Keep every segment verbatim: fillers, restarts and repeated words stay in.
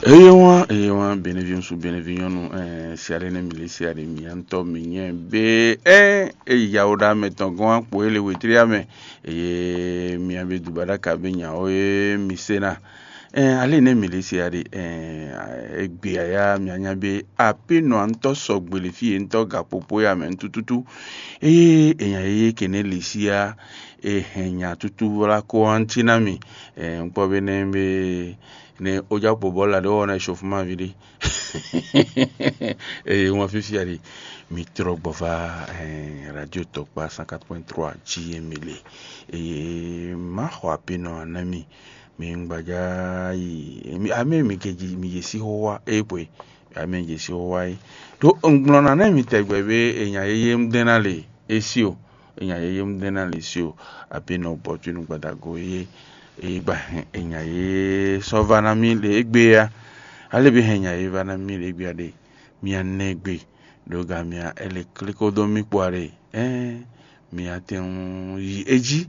Eye wá, eye wá, bɛnɛvi ŋsu, bɛnɛvi nyɔnu, ɛɛ, siaɖe nɛ mi le siaɖe mi antɔ mi nyɛ be, ɛɛ, eyi yawo ɖa mɛ tɔn gɔn akpo ele wetri amɛ, eye mi abe duba ɖaka be nya o ye mi se na. Ɛɛ, ale nɛ mi le siaɖe, ɛɛ, egbe aya mi anya be ape nɔ antɔ sɔgbe le fi ye ntɔ ga popo ya mɛ tututu. Eye enya ye kene le sia, e hɛn nya tutu la ko anti na mi. Ɛɛ, ŋkpɔ be nɛ be ne o ja kpo bɔ la ɖe wɔ na chauffement vi ɖe. Eye ŋua fifia ɖi mi trɔ gbɔ va, eh, radio tɔkpa cent quatre point trois G M le. Eye ma xɔ ape nɔ na mi. Mi ŋgbaja yi mi ame mi ke ji mi je si xo wa e kwe. Ame je si xo wa yi. Do ŋgblɔ na ne mi tɛgbɛ be enya ye ye ŋdɛn na le esi o. Enya ye ye ŋdɛn na le si o. Ape nɔ bɔ tu nu gbadago ye. Eye gba hɛn enya ye sɔ va na mi le egbe ya. Ale bi hɛn nya ye va na mi le egbe ya ɖe. Mia nɛ gbe ɖo ga mia ele kliko dó mi kpɔ ɖe. Ɛɛ, mia tɛn yi edzi.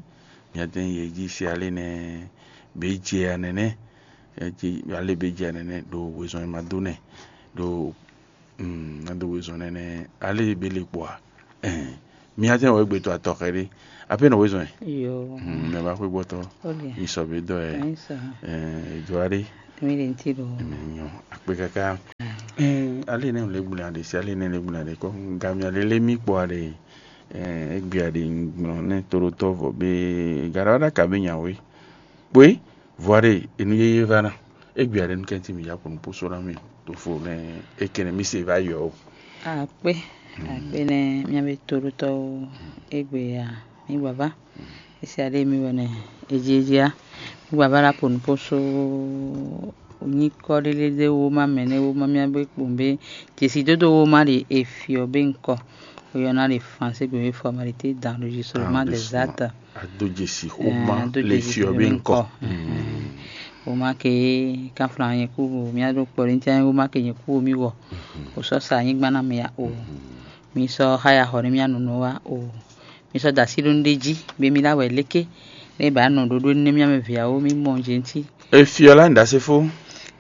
Mia tɛn yi edzi si ale nɛ be jɛ ya nɛnɛ. Ale be jɛ ya nɛnɛ ɖo wezɔn ma do nɛ ɖo Mm, ado wezɔn nɛnɛ ale be le kpɔa. Ɛn, mi atɛ wɔ egbe to atɔ xɛ ɖe. Ape nɔ wezɔn ɛ. Yo. Mm, mɛ ba xwe gbɔtɔ. Olia. Isɔ be dɔ ɛ. Aisa. Ɛn, edɔ aɖe. Mi le nti do. Mi nyɔ akpe kaka. Ɛn, ale ne le gbuna de si ale ne le gbuna de kɔ. Gamia lele mi kpɔ aɖe. Ɛn, egbe aɖe gblɔ ne tolotɔ vɔ be gara ɖaka be nyawe. Kpɔ́ é, vɔ̌ɖe e nú yéyé vá ná. Égbé ǎ ɖe nú kɛ́ntin mǐ yá kpɔ́n nú pósó ná mì, ɖo fo nɛ́ é kɛ́n nɛ́ mì se vá yɔ ó. Akpé, akpé nɛ́ mía bé tóɖótɔ́ ó. Égbé ǎ, mǐ gbǎ vá. É se aɖé mì wɛ nɛ́, é jí é jí á. Mǐ gbǎ vá ná kpɔ́n nú pósó nyíkɔ ɖé lé dé wóma mɛ nɛ́ wóma mía bé kpɔ́n bé. Jesi dódó wóma ɖe e fyɔ bé ŋkɔ. Ó yɔ́ ná ɖe Fransé gbe mɛ formalité dans l'enregistrement des actes. Adójesi xóma le fyɔ bí ŋkɔ. Woma ke kanflan nyɛ kú o, mía ɖo kpɔɖé ntí woma ke nyɛ kú o, mí wɔ. O sɔ sa anyigba ná mɛ ya o. Mí sɔ xá ya xɔ ní mía nunu wa o. Mí sɔ da sí ɖó nu ɖé jí, be mí lá wɛ léké. Né ba nɔ ɖoɖó ní mía mɛ vǐ awo mí mɔ jɛ ntí. Efyɔ lá ní ɖasefó.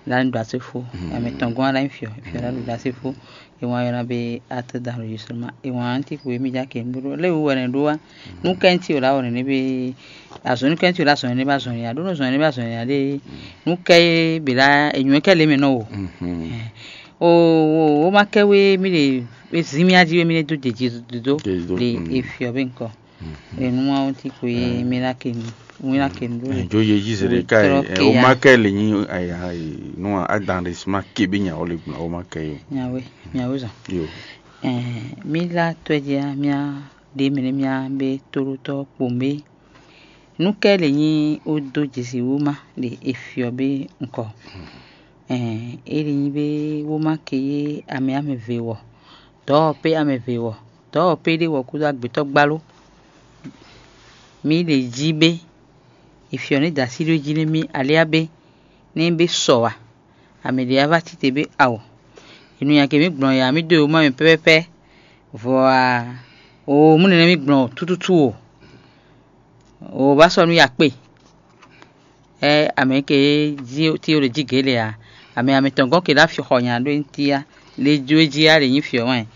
Lá ní ɖasefó. Amɛ tɔn gɔn lá ní fyɔ, fyɔ lá ɖo ɖasefó. E wǎn ylɔ́ ná be acte d'enregistrement. E wǎn ntí xwe mì já kɛ nǔɖuɖu lé wú wɛ nɛ ɖó wá. Nú kɛ ntí o lá wɔ nɛnɛ be azɔ̌ nú kɛ ntí o lá zɔ̌n nɛnɛ ba zɔ̌n ya ɖó nɔ zɔ̌n nɛnɛ ba zɔ̌n ya ɖé. Nú kɛ be lá enyɔ kɛ lé mɛ nɔ o. O o o ma kɛ wé mì ɖe zin mì aji wé mì ɖe dó dèjì dó le efiɔ be ŋkɔ. Enú wá ntí xwe mì lá kɛ nú mì lá kɛ nú ɖó. Dzo ye jí zè ɖe ká yi o ma kɛ lè nyi aya yi nú adan ɖe sima ke bí nya o le gbɔn o ma kɛ yi. Nyawe nyawe zɔn. Yo. Mí lá tɔ́ jí á mía ɖe mɛ nɛ mía bé tóɖótɔ́ kpombe. Nú kɛ lè nyi ó dó jesi wóma ɖe e fyɔ bé ŋkɔ. É lè nyi bé wóma ke yé amɛ amɛ ve wɔ. Dɔ̌ ɔ́ pé amɛ ve wɔ. Dɔ̌ ɔ́ pé ɖé wɔ kúdó agbětɔ́ gbáló. Mí ɖe jí bé. È fyɔ nǔ e da así ɖó jí nú mì aléá bé, nú é bé sɔ ǎ. Amɛ ɖě wá vá tite bé ao. È nɔ nya kɛ mǐ gblɔn yǎ mì dó e wú má mì pɛ́pɛ́pɛ́. Vɔ a, oo mú nɛnɛ́ mì gblɔn tútútú o. Oo bá sɔ́ nú yakpé. Ɛ amɛ ke jí tí ó ɖe jí gě lɛ a, amɛ amɛ tɔn gɔ́n ke ɖo afyɔ xɔ nya ɖó ntí á, le jó é jí á ɖe nyí fyɔ wɛn.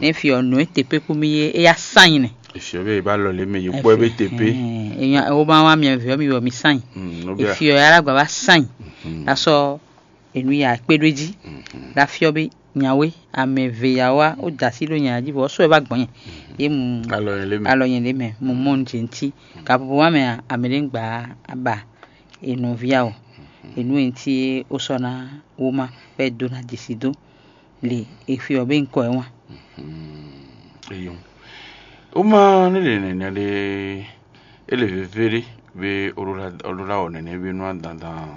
Nɛ fyɔ nǔ e te pé kú mì é, é yá sán nyi nɛ. Efyɔ bɛ ba lɔ le mɛ yi kpɔ ebe te pé. Eyan o ma wa miɛ vɛ mi wɔ mi sán nyi. Efyɔ ya la gba va sán nyi. Asɔ enu ya kpé ɖó jí. La fyɔ be nyawe amɛ ve ya wa o da sí ɖó nya jí vɔ sɔ ɛ va gbɔn yɛ. Ye mu alɔ yɛn lé mɛ. Alɔ yɛn lé mɛ mu mɔ nu jɛ ntí. Ka popo wa mɛ amɛ ɖe gba aba enu via o. Enu ntí o sɔ na wo ma fɛ do na jesi do. Le efyɔ be ŋkɔ ɛ wán. Eyɔn. Woma ne le nɛnɛ ɖe ele veve ɖe be olola olola wɔ nɛnɛ be nua dandan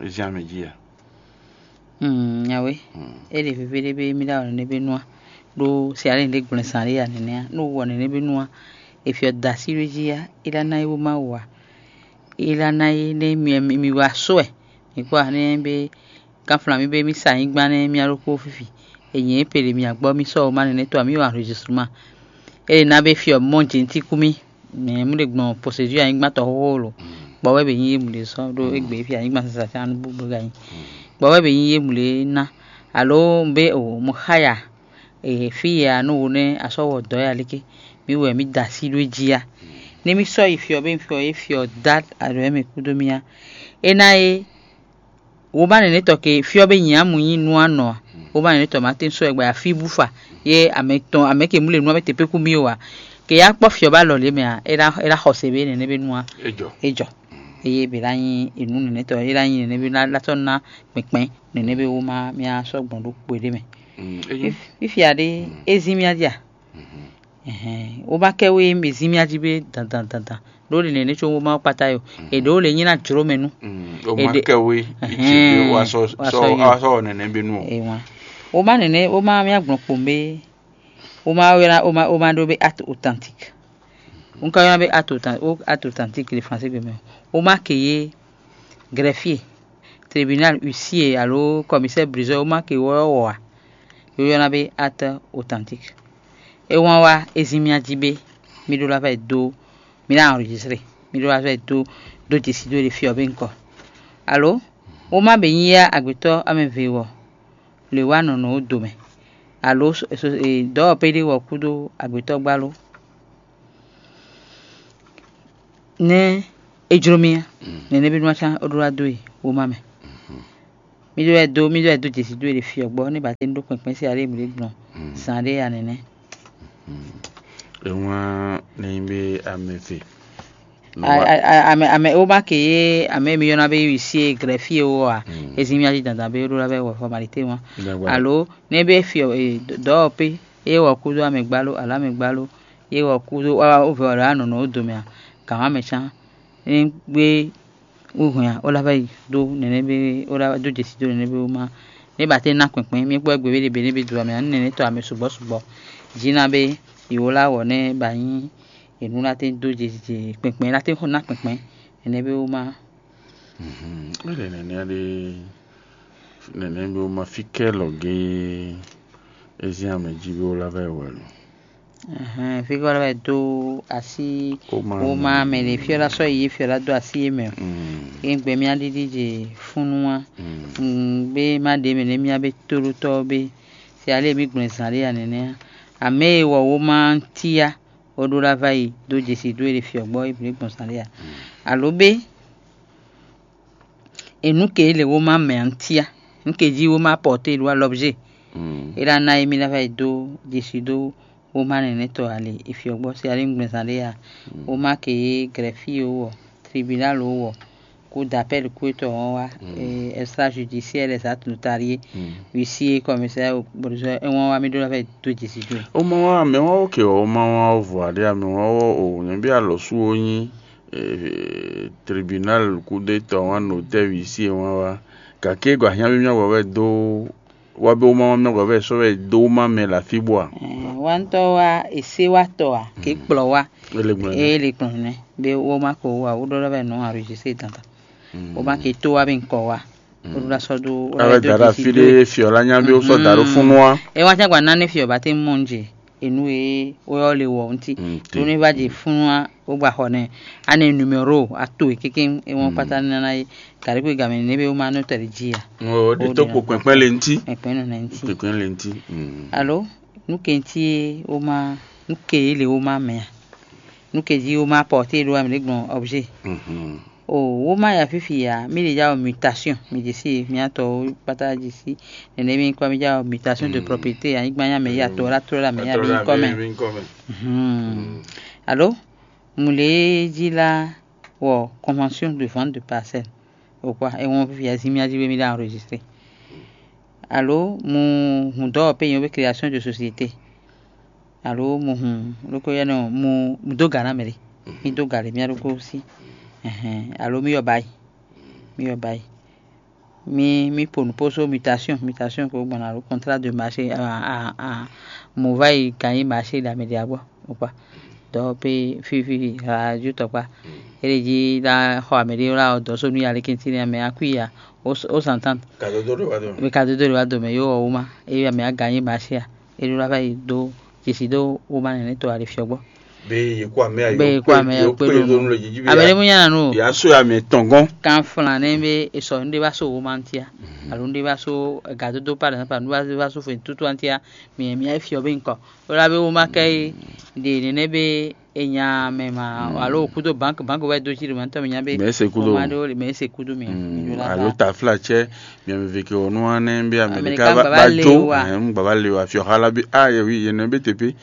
ezian mɛ dzi ya. Mm, nyawe. Ele veve ɖe be mi la wɔ nɛnɛ be nua ɖo siale ɖe gblɛn san ɖe ya nɛnɛ ya. No wɔ nɛnɛ be nua efyɔ da si ɖo dzi ya ela na ye wo ma wa. Ela na ye ne mi mi wa sɔɛ. Mi kpɔ ne be Kanflan mì bé mì sa nyigban nɛ́ mì alɔkpo fífi. È nyǐ é pele mì agbɔ́ mì sɔ́ womá nɛnɛ́ tɔn mì wa enregistrement. É lě ná bé fyɔ mɔ jǐntíkú mì. Mɛ mú ɖe gbɔn procédure anyigban tɔn xóxó lo. Kpɔ wɛ bɛ nyí yé mú ɖe sɔ́ ɖó égbé fí anyigban sasa can nú búblú gá nyi. bɔ wɛ bɛ nyí yé mlě ná, alo un bɛ o mo xá ya, e fí ya nú wo nɛ́ a sɔ́ wɔ dɔ̌ ya léké, mǐ wɛ mǐ da así ɖó é jí a? Nú mì sɔ́ yi fyɔ bɛ nyí fyɔ é fyɔ dá alɔ mɛ kúdó mì á. É ná é womá nɛnɛ́ tɔ ke fyɔ bɛ nyi amu nyí nú anɔ a? Womá nɛnɛ́ tɔ má tɛ́n sɔ́ ɛ gbɛ afí bú fa yé amɛ tɔn amɛ ke mú le nú amɛ tepékú mì o a? Ke ya kpɔ́ fyɔ bá lɔ lě mɛ a? É ná é ná xɔse bɛ nɛnɛ́ bɛ nú a? É jɔ. É jɔ. Eye bɛ ná nyí enú nɛnɛ́ tɔ é ná nyí nɛnɛ́ bɛ ná tɔ́ ná kpɛnkpɛn nɛnɛ́ bɛ womá mì á sɔ́ gbɔn ɖó kpo ɖé mɛ. Fífia ɖé é zín mì á jí a? Womá kɛ wé mì zín mì á jí bɛ dandan dandan. Ɖó le nɛnɛ́ có womá kpata yo. È ɖǒ le nyí ná jló mɛ nú. Ó má kɛ wé. Ici bí wá sɔ sɔ wá sɔ nɛnɛ́ bí nú o. Womá nɛnɛ́ womá mì á gbɔn kpo bɛ womá wé ná womá womá ɖó bɛ acte authentique. Un ka ylɔ́ bɛ acte authentique le français gbe mɛ. Womá ke yé greffier, tribunal, huissier alo commissaire priseur womá ke wɔ wɔ a? Yó ylɔ́ bɛ acte authentique. É wán wá é zín mì á jí bɛ mì ɖó lá fɛ dó mì ná enregistré, mì ɖó lá fɛ dó dó jesi dó ɖe fyɔ bɛ ŋkɔ. Alo womá bɛ nyí yá agbetɔ́ amɛ ve wɔ le wá nɔnɔ ó do mɛ. Alo dɔ̌ ɔ́ pé ɖé wɔ kúdó agbetɔ́ gbá ló. Nɛ́ é jló mì á, nɛnɛ́ bí nú acán ó ɖó wá dó e womá mɛ. Mì ɖó wɛ dó mì ɖó wɛ dó jesi dó e ɖe fyɔ gbɔ ní bàtɛ ní ɖó kpɛnpɛn sí alé mǐ ɖé gbɔn zan ɖé ya nɛnɛ́. È wlán nɛ́ nyí bé amɛ ve. Ame ame woma ke ye ame mi yɔna be huissier, greffier wo a? Ezin mi aji dandan be ɖó la bɛ wɔ formalité wan. Alo ne be fi dɔwɔ pe ye wɔ kudo amɛgba lo alo amɛgba lo ye wɔ kudo wa wo vɛ wala nɔnɔ wo dome a? Gǎn wa mɛ can ne gbe wíhwɛn a, ó lá vɛ yi dó nɛnɛ́ bé ó lá dó jesi dó nɛnɛ́ bé wú má. Né ba tɛ́n ná kpɛnpɛn mì kpɔ́ gbě bé ɖě bé nɛ́ bé dó amɛ ǎ, nɛnɛ́ tɔ́ amɛ sugbɔ́ sugbɔ́. Jí ná bé yě wó lá wɔ nɛ́ ba nyí yě nú ná tɛ́n dó jesi kpɛnpɛn ná tɛ́n xɔ ná kpɛnpɛn nɛnɛ́ bé wú má. Mɛ ɖe nɛnɛ́ ɖé nɛnɛ́ bé wú má fí kɛ lɔ géé é zín amɛ jí bé wó lá vɛ wɛ lo. Fígɔ́ lɛ́ wɛ dó así wóma mɛ ɖě fyɔ́ ná sɔ́ yi yě fyɔ́ ná dó así yě mɛ. Yě gbɛ mì aɖiɖi jɛ fúnnu wá. Gbé má ɖě mɛ nɛ́ mì abé tóɖótɔ́ bé. Se alé mì gblɔn zǎn ɖé ya nɛnɛ́ á. Amɛ e wɔ wóma ntí á, ó ɖó lá vá yi dó jesi dó e ɖe fyɔ́ gbɔ é blǒ gbɔn zǎn ɖé ya. Alo bé e nǔ ke lě wóma mɛ ǎ ntí á. Nǔ ke jí wóma pɔté ɖó alɔbzé. É ɖá ná émí ná vɛ dó jesi dó wóma nɛnɛ́ tɔ́ ali e fyɔ́ gbɔ se ali ŋgbɛn zán ɖé ya. Wóma ke yé grɛfí ó wɔ, tribunal ó wɔ, kú dapɛl kú étɔ́ wɔn wá, extrajudiciaire, les actes notariés, huissier, commissaire, bɔduzɔ é wɔn wá mí ɖó ná vɛ dó jesi dó. Ó má wá mɛ wá ó ke ɔ ó má wá ó vɔ aɖé amɛ wá ó o nyɛ bí alɔ sú ó nyí tribunal kú ɖé tɔ́ wá notɛ́ huissier wá wá. Gake gɔ ahiã bí mía wɔ wɛ dó wá bí wóma wá mía wɔ wɛ sɔ́ wɛ dó wóma mɛ le afí bó a? Wantɔ wa ese wa tɔ a ke kplɔ wa. Ele gblɔ ne. Ele gblɔ ne be wóma ko wa wo ɖɔ lɔ bɛ nɔ enregistré dandan. Wóma ke to wa be nkɔ wa. Wo ɖo la sɔ do. Abe da ɖe afi ɖe fiɔ la nya be wosɔ da ɖo funu wa. E wa tsa gba nane fiɔ ba te mɔ nje enu e woyɔ le wɔ ŋuti. Ɖo ne va dze funu wa wo gba xɔ nɛ. Ane numéro ato e keke e wɔn kpata nana ye. Gari kwe game ne be woma nɔ tɛli dzi ya. Ŋo ɖe to kpo kpɛkpɛ le ŋuti. Kpɛkpɛ nɔ ne ŋuti. Kpɛkpɛ le ŋuti. Alo nu ke ŋuti ye woma nu ke ye le woma mɛ a? Nu ke jí woma pɔte ɖo amɛ ɖe gbɔn objet. O woma ya fifi ya mi ɖe ya wɔ mutation mi ɖe si mi atɔ kpata ɖe si. Nene mi kɔ mi ya wɔ mutation de propriété anyigba ya mɛ ya tɔ la trɔ la mɛ ya mi kɔ mɛ. Alo mu le jí la wɔ convention de vente de parcelle. Ou quoi? Et on vit à Zimia, je vais me enregistrer. Alo mu hun dɔwɔ pe yɛn be création de société. Alo mu hun loko yɛ nɔ mu mu do ga na mɛ de. Mi do ga le mia loko si. Alo mi yɔ bayi. Mi yɔ bayi. Mi mi ponu poso mutation mutation ko gbɔn alo contrat de marché a a a. Mu va yi gagné marché da mɛ de agbɔ. Ou quoi? Dɔ pe fifi radio tɔkpa. Ele dzi la xɔ ame ɖe la dɔ so nu ya le kenti ne ame akui ya o o santan. Kadodo ɖe wa do. Mi kadodo ɖe wa do me yo o ma e ame a gagné marché ya. E ɖo la va yi do jesi do o ma nene to ale fiɔ gbɔ. Be ye kó amɛ ya, be ye kó amɛ ya kpé ɖo nú le jiji be. Abele mu nya nu. Ya so ya mɛ tɔn gɔn. Kan flan ne be esɔ nu de ba so wo man tia. Alo nu de ba so gadodo pa de pa nu de ba so fe tutu antia. Mi mi ai fiɔ be nkɔ. Ola be wo ma kɛ de ne ne be e nya mɛ ma alo kudo bank bank wɛ do ci de ma tɔ mi nya be. Mais c'est kudo. Ma do le mais c'est kudo mi. Alo tafla tsɛ. Miami veke ɔnu anɛ be Amerika ba jo. Ɛn gba ba le wa fiɔ hala be a ye wi ye nɛ be tepe.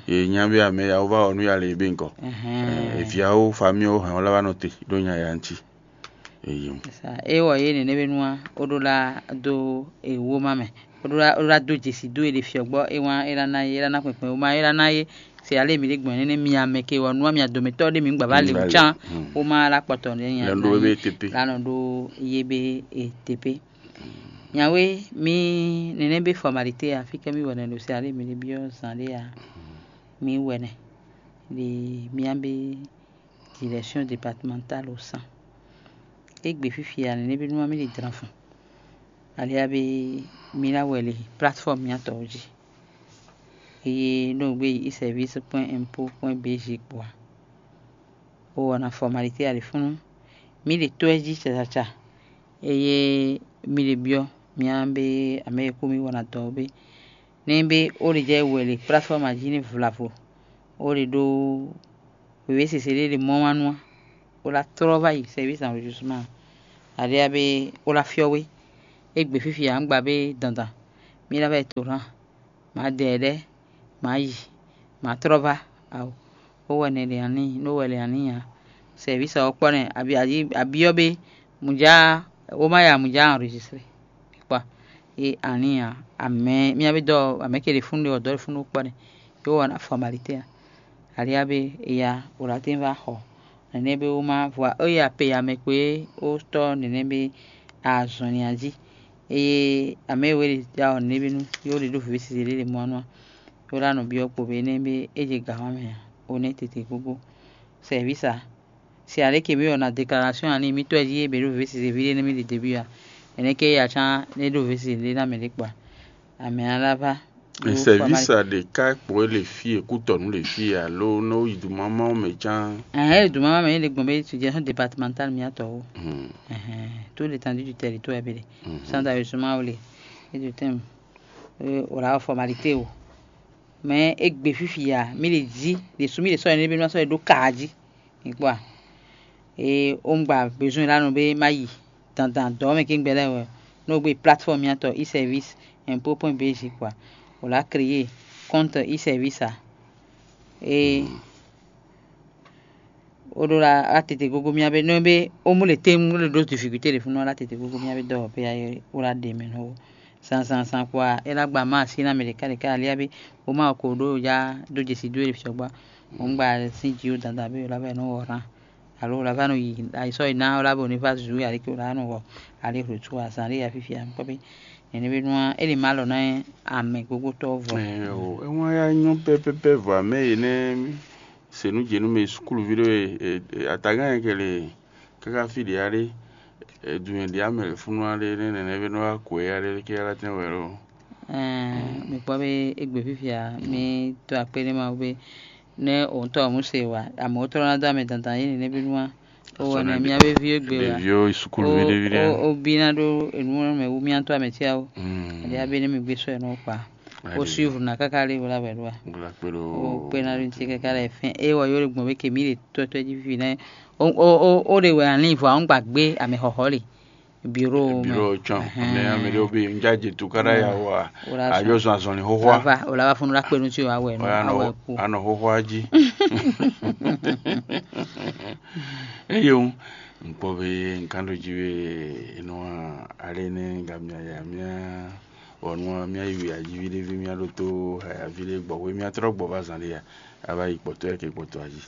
Ye nya be amɛ ya va ɔnu ya le be nkɔ. Eviawo famiwo hɛn wala va nɔ te ɖo nya ya ŋuti. Eyi. E wɔ ye nene be nua o ɖo la do ewo ma mɛ. O ɖo la do dzesi do e ɖe fiɔ gbɔ e wan e la na ye e la na kpɛkpɛ o ma e la na ye. Se ale mi ɖe gbɔn nene mi amɛ ke wɔ nua mi adomɛtɔ ɖe mi gba va le can. O ma la kpɔtɔ ne nya. Lɛndo be tepe. La nɔ ɖo ye be e tepe. Nyawe, mi nene be formalite a, fike mi wɛnɛ ɖo se ale mi ɖe biɔ zan ɖe a, mi wɛnɛ ɖe mia be direction départementale au sang. Egbe fifi a nene be nua mi ɖe dran fun. Alia be mi la wɛ le plateforme miatɔwo jí. Eye ɖo gbe yi service point impôt point bg kpɔa. O wana formalite a ɖe funu. Mi ɖe to ɛ jí cacaca. Eye mi ɖe biɔ mia be ame e kú mi wana dɔ be. Ne be o ɖe jɛ wɛ le plateforme a jí ne vlavo. O ɖe ɖo wěwé sese ɖé ɖe mɔ wá nua. O la trɔ va yi service enregistrement. Aɖe ya be o la fiɔ we. Egbe fifi a ŋgba be dandan. Mi la va yi to lan. Ma dɛ ɖɛ, ma yi, ma trɔ va. Awo, o wɛ nɛ le ani, no wɛ le ani ya. Service ɔ́ kpɔ́ nɛ abi adi abiɔ be muja o ma ya muja enregistré. Kpɔ e ani ya amɛ mia be dɔ amɛ ke le funu de ɔdɔ le funu kpɔ́ nɛ. Yo wɔ na formalite ya. Alia be eya o la tin va xɔ. Nɛnɛ be o ma vɔ o ya pe ya mɛ kpé o tɔ nɛnɛ be azɔn ni aji. Eye amɛ we de ja ɔ nɛnɛ be nu yo de ɖo vivɛ sisi de de mɔ anua. Yo la nɔ biɔ kpo be nɛ be e je ga wa mɛ a o nɛ tete gbogbo. Service a si ale ke mi wɔ na déclaration ani mi tɔ ji e be ɖo vivɛ sisi vi de nɛ mi de debi a. Ɛnɛ ke ya can ne ɖo vivɛ sisi de na mɛ de kpa. Amɛ ala va. Service a ɖe ka kpɔ́ le fí e kútɔ̀nú le fí e alo ne wo yi duma ma wo mɛ can. Ɛhɛn, e duma ma mɛ e le gbɔn be situation départementale mi atɔ wo. Tout l'étendue du territoire be de. Sans d'ailleurs suma wo le. E de tem. O la formalité o. Mais e gbe fifi ya mi le di le su mi le sɔ ne be ma sɔ e ɖo ka ji. Mi kpɔ́ a? Ee, wongba bezoin la nɔ be ma yi dandan dɔ̌ mɛ kɛ́ngbɛ lɛ́ɛ wɛ, nú o gbe plateforme mìatɔn e-service impôt point bg kpɔ́ a? O la créer compte e-service a? Ee, o ɖo la la tete gogo mia be nɔ be o mu le tem le ɖo difficulté ɖe funu la tete gogo mia be dɔ pe ayi o la ɖe mɛ nɔ o. Zan zan zan kpɔ́ a, e la gba ma asi na mɛ ɖeka ɖeka alia be o ma ko ɖo ya do jesi do e fiɔ gba. Mo ŋgba sin ji o dandan be o la vɛ nɔ wɔ ran. Alo o la va nɔ yi ayisɔ yi na o la bo ne va zu ali ke o la nɔ wɔ ali hlotu azan ɖe ya fifia kpɔ be nene be nua e le ma lɔ na amɛ gogo tɔ vɔ. Ɛ o, e wan ya nyɔ pɛpɛpɛ vɔ amɛ yi ne se nu jenu me sukuluvi ɖo e atagán yɛ kele kaka fi ɖe aɖe. Edun e ɖe amɛ le funu aɖe ne nene be nɔ wa ko e aɖe ke ala tɛn wɛ lo. Ɛɛ, mi kpɔ be egbe fifia mi to akpe ne ma be ne o ŋutɔ mu se wa, amewo tɔ na do ame dandan yi nene be nua o wɔ ne mia be vi egbe wa. Ɖeviwo sukuluvi ɖevi ɖe. O bi na ɖo enu mɛ wu mia to ame tia o. Ɛdi abe ne mi gbe sɔ enu kpa. O suivre na kaka le wala wɛ ɖo wa. Gbla kpe ɖo. O kpe na ɖo ŋuti kaka le fɛn e wɔ yo le gbɔn be ke mi le tɔtɔ ji fifi nɛ. O o o o ɖe wɛ ali vɔ àwọn gbàgbé ame xɔxɔ le. Biro mɛ. Biro tsɔn. Ɛhɛn. Ame ame ɖewo be ŋdza dze tu kaɖa ya wa. Wala sɔn. Adzo zɔn azɔnli xoxoa. Ava o la va funu la kpe nu ti o awɛ nu awɛ ku. Anɔ xoxoa dzi. Eye o ŋkpɔ be nkan ɖo dzi be enua ale ne gamia ya mia wɔnua mia yi wi ayi vi ɖe vi mia ɖo to hayavi ɖe gbɔ we mia trɔ gbɔ va zan ɖe ya ava yi kpɔtɔ ya ke kpɔtɔ ayi.